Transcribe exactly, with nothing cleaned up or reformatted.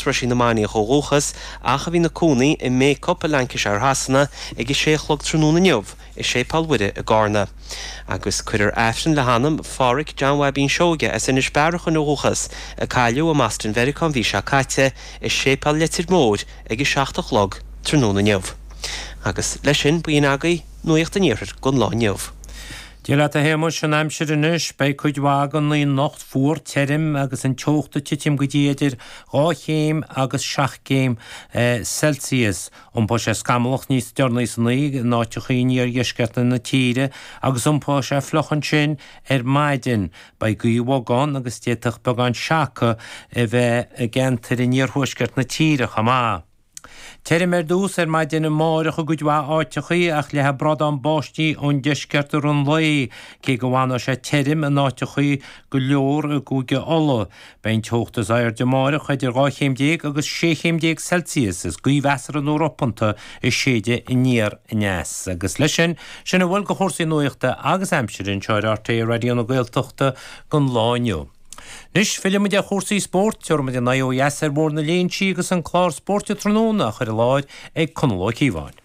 as Roisín na Mainiach ó dhúchas ach a bhí ina cónaí i mBacup i Lancashire Shasana ag a sé a chlog tráthnóna inniu i Séipéal Mhuire i gCarna. Agus cuirfear Aifreann le hanam Pháraic John Bhaibín Seoige as Inis Bearachain ó dhúchas, a cailleadh i mBoston Mheiriceá an mhí seo caite, i Séipéal Leitir Móir ag a seacht a chlog tráthnóna inniu. Agus leis sin, b'in agaibh Nuacht an Iarthair don lá inniu. Dia leat a Shéamais, an aimsir anois, beidh cuid mhaith den oíche anocht fuar tirim agus an teocht ag titim go dtí idir dhá chéim agus seacht gcéim Celsius. Iompóidh sé scamallach níos deireanaí san oíche in áiteachaí in iardheisceart na tíre agus iompóidh sé fliuch ansin ar maidin. Beidh gaoth bhog ann agus d'fhéadfadh beagán seaca a bheith i gceantair in iarthuaisceart na tíre chomh maith. Tirim ar dtús ar maidin amáireach i gcuid mhaith áiteachaí ach leathfaidh bradán báistí ón deisceart i rith an lae, cé go bhfanfaidh sé tirim in áiteachaí go leor i gCúige Uladh. Beidh an teocht is airde amáireach idir dhá chéim déag agus sé chéim déag Celsius is gaoth mheasartha nó ropanta ag séideadh aniar aneas. Agus leis sin, sin a bhfuil de chúrsaí nuachta agus aimsire anseo ar RTÉ Raidió na Gaeltachta don lá inniu. Anois, fillfidh muid ar chúrsaí spóirt, tabharfaidh muid ár n-aghaidh ó dheas ar Bhóthar na Léinsí agus an clár Spóirt Tráthnóna á chur i láthair ag Conall Ó Cíobháin.